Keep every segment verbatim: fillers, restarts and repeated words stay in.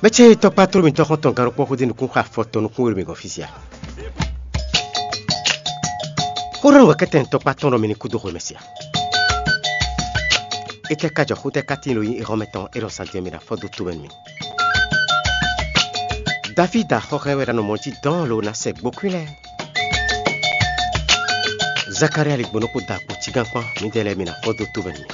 Mɛ ce tɔkpá tló mitɔn xɔ́ntɔn gannukpɔ́ xódó nukún xá afɔ tɔn nukún wéɖo mi gɔ́n fí sia. Xó ɖɔ nǔ wɛ kɛ́tɛn tɔkpá tɔn ɖɔ mi ní kú dó xwe mɛ sia. Étɛ́ ka jɔ xó tɛ́ ka tíin ɖo nyí exɔ́mɛ tɔn é ɖɔ sanjɛ mi ná fɔ dó tomɛ nú mi. Davída xɔxɛ wɛ ɖo anɔ mɔ jí dɔn lo ná sɛ gbókwín lɛ́ɛ. Zakalía li gbɔn nukún da kpo cígán kpán, mǐdɛɛ lɛ́ɛ mi ná fɔ dó tomɛ nú mi.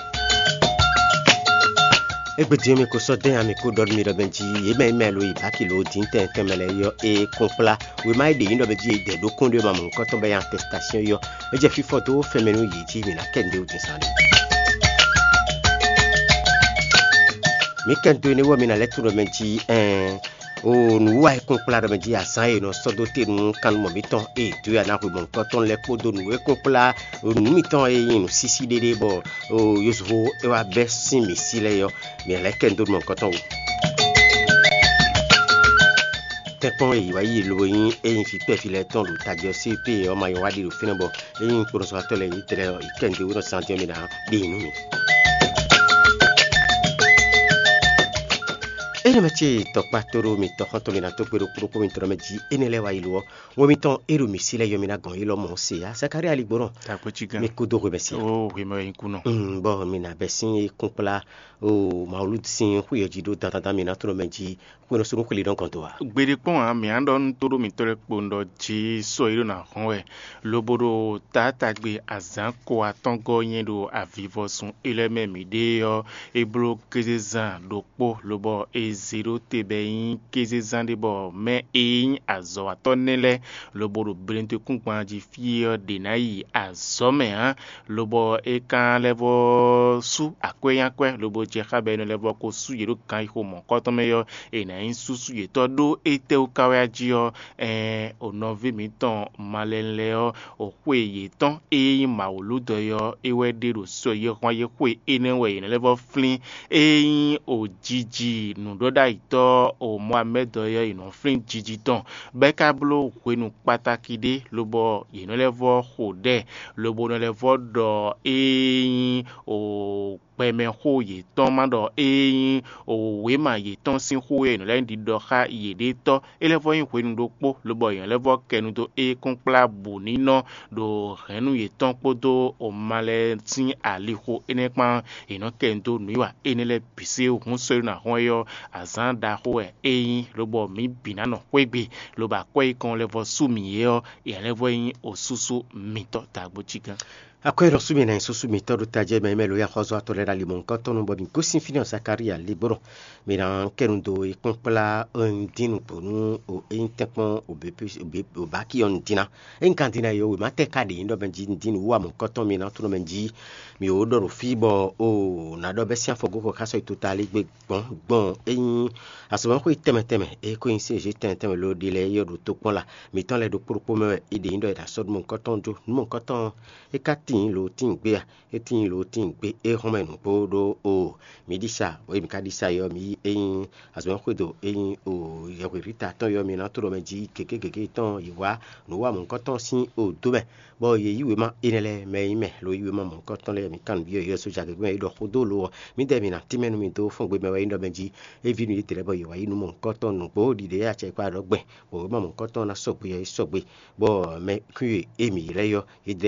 Égbé din ɔ́, mi ko sɔ́ dɛ́n ǎ, mi ko ɖɔ nú mi ɖɔ mɛ jí yě mɛ e mɛ lo yi bǎki lo dín tɛn tɛnmɛ lɛ́ɛ ɔ́, é kún kplá wěma e ɖě nyí ɖɔ mɛ jí è dɛ ɖó kún ɖé ma mɔ̌hunkɔtɔn bɔ é nyí atɛstásyɔ́n é ɔ́, é jɛ fífɔ dó fɛnmɛ nú yě jí mǐ ná kɛ nǔɖé wú din zán ɖé. Mǐ kɛ dó énɛ́ wú ɔ́, mi ná lɛ́ tunwun ɖɔ mɛ jí ɛɛn, o nǔwiwa e kún kplá ɖɔ mɛ jí azǎn e è nɔ sɔ́ dó te nú kannumɔ mǐtɔn e è dǒ ya ná hwe mɔ̌hunkɔtɔn lɛ́ɛ kpódó nǔ e kún kplá nǔ mitɔn e nyí nǔsísí ɖéɖé bɔ yozuxó é wá bɛ́ sín mǐ sí lɛ́ɛ é ɔ́, mǐ ná lɛ́ kɛ dó nú mɔ̌hunkɔtɔn wú. Tɛ́nkpɔ́n e yě wá yi lo e nyí é nyí vǐ kpɛví lɛ́ɛ tɔn ɖo tají ɔ́ sí pé ɔ́ ma nyɔ́ wá ɖi ɖo fínɛ́ bɔ é nyí kplɔ́nzɔ́watɔ́ lɛ́ɛ yědɛ́ lɛ́ɛ ɔ́, yě kɛ nǔɖé wú nɔ zán dín ɔ́ mì ná ɖe nyi nú mì. Énɛ́ mɛ ce tɔkpá tóɖó mitɔn xɔ́ntɔn mi ná tó kpé ɖo kúɖokpó mitɔn mɛ jí énɛ́ lɛ́ɛ wá yi lo ɔ́, wɔ mitɔn e ɖo mǐ sí lɛ́ɛ yɔ mi ná gɔn yi lɔ mɔ̌ se ǎ. Zakalía ligbɔnɔ, Takwɛ́cígán. Mi kúdó hwemɛ se. Ó hwemɛ wɛ nyí kúnɔ. Mm, bɔ mi ná bɛ́ sín e kún kplá o Mawu sín xwé ɔ́ jí ɖó dandan mì ná tló mɛ jí xwénɔsúnú xwlí nɔ gɔn dó ǎ. Gbeɖé kpɔ́n ǎ, mǐ á ɖɔ nú tóɖó mǐtɔn lɛ́ɛ kpo un ɖɔ jí sɔ e ɖo ná hɔn wɛ, lobo ɖo taátagbe azǎn ko atɔ́ngɔ́ nyɛ ɖo avivɔsun élɔ́ mɛ mǐ ɖe ɔ́, é bló kézezán ɖokpó, lobɔ è zě ɖó te bɔ é nyí kézezán ɖé bɔ mɛ e nyí azɔ̌watɔ́ nɛ́ lɛ́ɛ lobo ɖo bleɖekúngban jí fí ɔ́ ɖě ná yi azɔ̌ mɛ ǎ, lobɔ é ka lɛ́ vɔ́ sú akwɛ́ nyi akwɛ́, lobo jɛ xá bɔ é nɔ lɛ́ vɔ́ ko sú yě ɖo ganxixo mɔ̌hunkɔtɔn mɛ ɔ́, è nǎ nyí súsú yětɔn ɖó étɛ́wú ka wɛ a jí ɔ́, ɛɛn, o nɔví mǐtɔn malɛnu lɛ́ɛ ɔ́, o xwe yětɔn e nyí mawǔlúdɔ̌ é ɔ́, é wɛ ɖe ɖo sɔ e hɔn yě xwe énɛ́ wɛ yě nɔ lɛ́ vɔ́ flín, e nyí o jiji nǔɖɔɖ'ayǐtɔ́ o Mɔamɛ́dɔ é ɔ́, è nɔ flín jiji tɔn, bɔ é ka bló hwenu kpatáki ɖé, lobɔ yě nɔ lɛ́ vɔ́ xo ɖɛ, lobo nɔ lɛ́ vɔ́ ɖɔ e nyí o gbɛmɛxó yětɔn ma ɖɔ ée nyí wěma yětɔn sín xó e è nɔ lɛ́ ɖiɖɔ xá yěɖée tɔ́. É lɛ́ vɔ́ nyí hwenu ɖokpó, lobɔ è nɔ lɛ́ vɔ́ kɛ nu dó éé kún kplá bǔ ní nɔ ɖo hɛ̌nnu yětɔn kpódó oma lɛ́ɛ sín alixo énɛ́ kpán. È nɔ kɛ nu dó nǔwiwa énɛ́ lɛ́ɛ bǐ sí. Hǔn sɔ́ e ɖo ná hɔn é ɔ́, azǎn ɖaxó wɛ é nyí, lobɔ mǐ bǐ ná nɔ xwé gbe, lobo akwɛ́ yíkɔn lɛ́ vɔ́ sú mǐ é ɔ́, yě lɛ́ vɔ́ nyí osúsú mitɔn dǎgbójígán. Akwɛ́ ɖɔ sú mì ná nyí súsú mǐtɔn ɖo tajɛ mɛ mɛ lo ya xɔzɔ́ atɔ́ lɛ́ɛ ɖo ali mɔ̌hunkɔtɔn nu, bɔ mǐ gosín fínɛ́ ɔ́ Zakalía ligbɔnɔ. Mǐ ná kɛ nu dó e kpɔ́n kplá ɔ́ un dín nǔgbó nú o é nyí tɛ́nkpɔ́n o běbí o běbí o báki ɔ́ un dín ná. É nyí kan dín ná yi ɔ́, wěma tɛ́ ka ɖě nyí ɖɔ mɛ jí un dín nǔ wa mɔ̌hunkɔtɔn mì ná tló mɛ jí mǐ wǒ ɖɔ ɖo fí bɔ o ná ɖɔ bɛ́ sín afɔgóxɔ xá sɔ́ yi tota lé gbe gbɔn gbɔn é nyí azɔ̌mɛxwé tɛnmɛ tɛnmɛ e ko nyí C G tɛnmɛ tɛnmɛ lo ɖi lɛ́ɛ é yɔ ɖo tokpɔn la mǐtɔn lɛ́ɛ ɖokpó ɖokpó mɛ wɛ é ɖě nyí ɖɔ è nǎ sɔ́ nú mɔ̌hunkɔtɔn jó. Nú mɔ̌hunkɔtɔn ɔ́, é ka tíin lo tíin gbé a? É tíin lo tíin gbé é hɔn mɛ nǔgbó ɖó o mǐ ɖi sa, bɔ é mǐ ka ɖi sa é ɔ́, mǐ yí é nyí azɔ̌mɛ xwédo é nyí o yɛhweví ta tɔn é ɔ́, mi ná tló mɛ jí gěgé gěgé tɔn yi wá nǔ wa mɔ̌hunkɔtɔn sín o dó mɛ, bɔ yě yí wěma énɛ́ lɛ́ɛ mɛ e nyí mɛ lo yí wěma mɔ̌hunkɔtɔn lɛ́ɛ. Mǐ kan nǔ byɔ́ yě sójà gěgé mɛ yi ɖɔ xó dó lo ɔ́, mǐdɛɛ mǐ ná tínmɛ nú mi dó fɔ́n gbe mɛ wɛ é nyí ɖɔ mɛ jí é ví nú yě tlɛ bɔ yě wá yí nú mɔ̌hunkɔtɔn nǔgbó ɖiɖe e acɛ kpa ɖɔ gbɛn, bɔ wěma mɔ̌hunkɔtɔn ná sɔgbe ɔ́, é sɔgbe, bɔ mɛ kún e émí ylɛ́ ɔ́, é dlɛ́